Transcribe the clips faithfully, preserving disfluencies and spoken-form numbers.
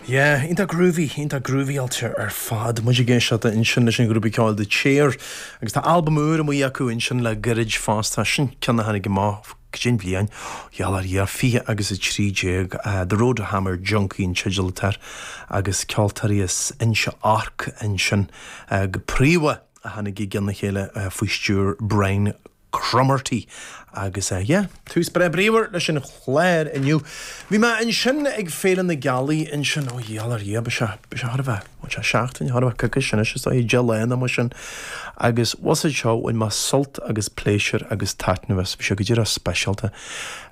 Yeah, iontach groovy, iontach groovy-áilte ar fad. Muid ag éisteacht ansin leis an ghrúpa ceoil The Chair agus tá albam úr amuigh acu ansin le gairid fosta sin ceann a tháinig amach cén bhliain gheall ar Dhia fiche agus a trí déag The Road to Hammer Junkie an teideal atá air agus ceoltóirí as Inse Orc ansin go príomha a tháinig i gceann a chéile faoi stiúir Brian Cromarty agus uh, yeah, tús breá bríomhar leis an chlár inniu. Bhí mé ansin ag Féile na Gealaí ansin ó gheall ar Dhia sé sé thar bheith sé seachtain thar bheith coicís sin is deich lá mar sin agus was seo bhain mé sult agus pléisiúr agus taitneamh as bhí sé go díreach speisialta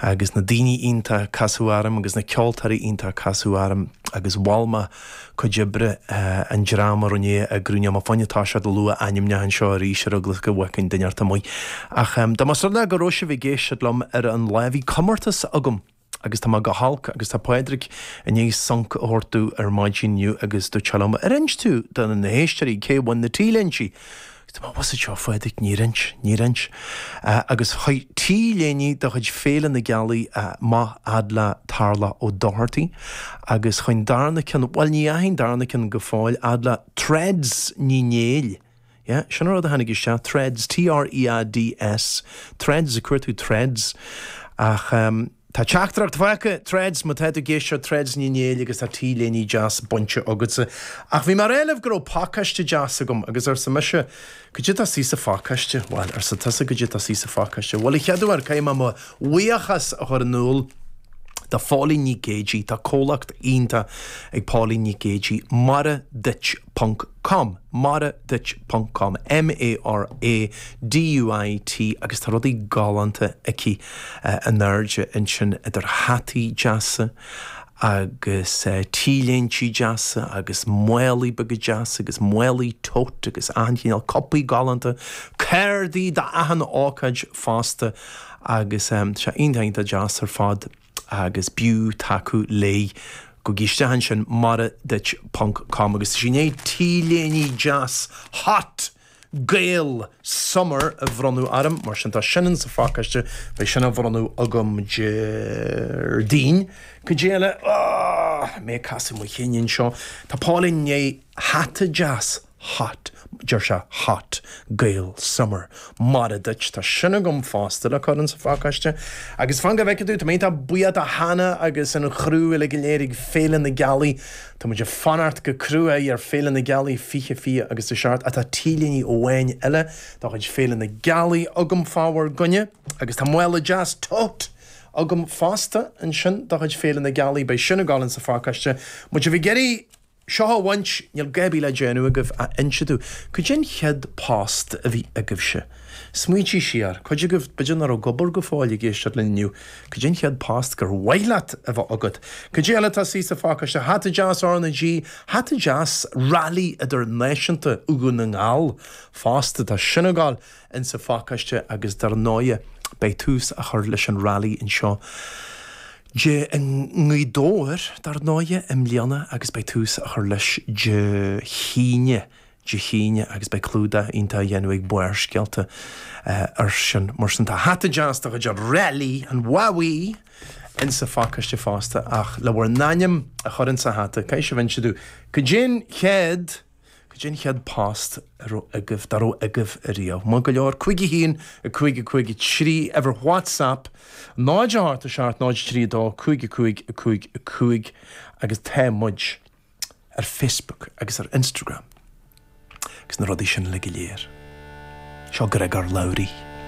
agus na daoine iontach casadh orm agus na ceoltóirí iontach casadh orm agus mhol mé cuid oibre uh, an dream a rinne a grúine má fáinne tá sé lua ainmneach anseo arís ar eagla go bhfeicfinn duine amuigh. Ach um, dá más rud go raibh sibh ag éisteacht liom ar an lá bhí comórtas agam agus tá go holc agus tá Pádraig i ndiaidh sonc a thabhairt ar maidin inniu agus dúirt sé liom ar inis tú do na héisteoirí cé bhain na T-léinte. Tá was seo Phádraig níor inis níor inis uh, agus chuaigh T-léine de chuid Féile na Gealaí uh, maith fhad le Tarla Ó Doherty agus chuaigh darna ceann well ní ahain darna ceann go fóill fhad le Threads Ní Néill. Yeah, sin rud a tháinig isteach Threads T-R-E-A-D-S Threads a cuairú Threads ach um, Tá teachtaireacht faighte Threads má tá tú ag éisteacht Threads Ní Néill agus tá T-léine deas bainte agatsa. Ach bhí mar éileh go raibh pacáiste deas agam agus arsa mise cad é atá sa phacáiste Well arsa tusa cad é atá sa phacáiste. Well i cheadú ar caiim mo bhuíochas a chur in iúl do Phóilín Ní Géidí tá comhlacht iontach ag Pauline Ní Géidí maraduit ponc com maraduit ponc com M A R A D U I T agus tá rudaí galánta aici uh, an airde ansin idir hataí deasa agus uh, T-léinte deasa agus málaí beaga deasa agus málaí tote agus achan chineál cupaí galánta, cártaí d'achan ócáid fosta agus um, sé iontach deas ar fad agus b'fhiú tacú léi gabh isteach ansin maraduit ponc com agus sin é T-léine deas hot Gael Summer a bhronnadh orm mar sin tá sin sa phacáiste beidh sin á bhronnadh agam Déardaoin go déile mé casadh mo chinn seo Tá Pauline né hata deas hot deir sé hot Gael Summer Mara duit tá sin agam fosta le chur sa phacáiste agus fan go bhfeice tú tá mé buíoch do Hannah agus an chriú uile go léir ag Féile na Gealaí Tá muid ag fanacht go crua ar Féile na Gealaí fiche fiche agus a seacht atá T-léine amháin eile de chuid Féile na Gealaí agam fá bhur gcoinne agus tá mála deas tote agam fosta ansin de chuid Féile na Gealaí beidh sin ag gabháil sa phacáiste Muid a bhí geirí Seo a bhaint níl gaibi le déanú agaibh a inseadú, Cad é an chéad post a bhí agaibhse. Smaointigh siar, cuid agaibh b'fhéidir nach raibh ag obair go fóill ag éisteacht linn inniu, Cad é an chéad post gur mhaith leat a bheith agat. Cad é eile atá sa phacáiste hata deas RnaG, hata deas Rally Idirnáisiúnta Dhún na nGall fosta tá sin ag gabháil insa phacáiste agus dar ndóigh beidh tús á chur leis an rally anseo. Dé i nGaoth Dobhair dar ndóigh i mbliana agus beidh tús á chur leis Dé hAoine Dé hAoine agus beidh clúdach iontach á dhéanamh ag Barrscéalta uh, ar sin mar sin tá hata deas de chuid rally an Wowee insa phacáiste fosta ach le bhur n-ainm a chur insa hata caithfidh sibh inse domh cad é an chéad Cad é an chéad post a raibh agaibh dá raibh agaibh ariamh. Má go leor cúig a haon a cúig a cúig a trí uimhir WhatsApp náid a hocht a seacht náid trí dó cúig a cúig a cúig a cúig agus tá muid ar Facebook agus ar Instagram. Agus na rudaí sin le go léir. Seo Gregor Lowry.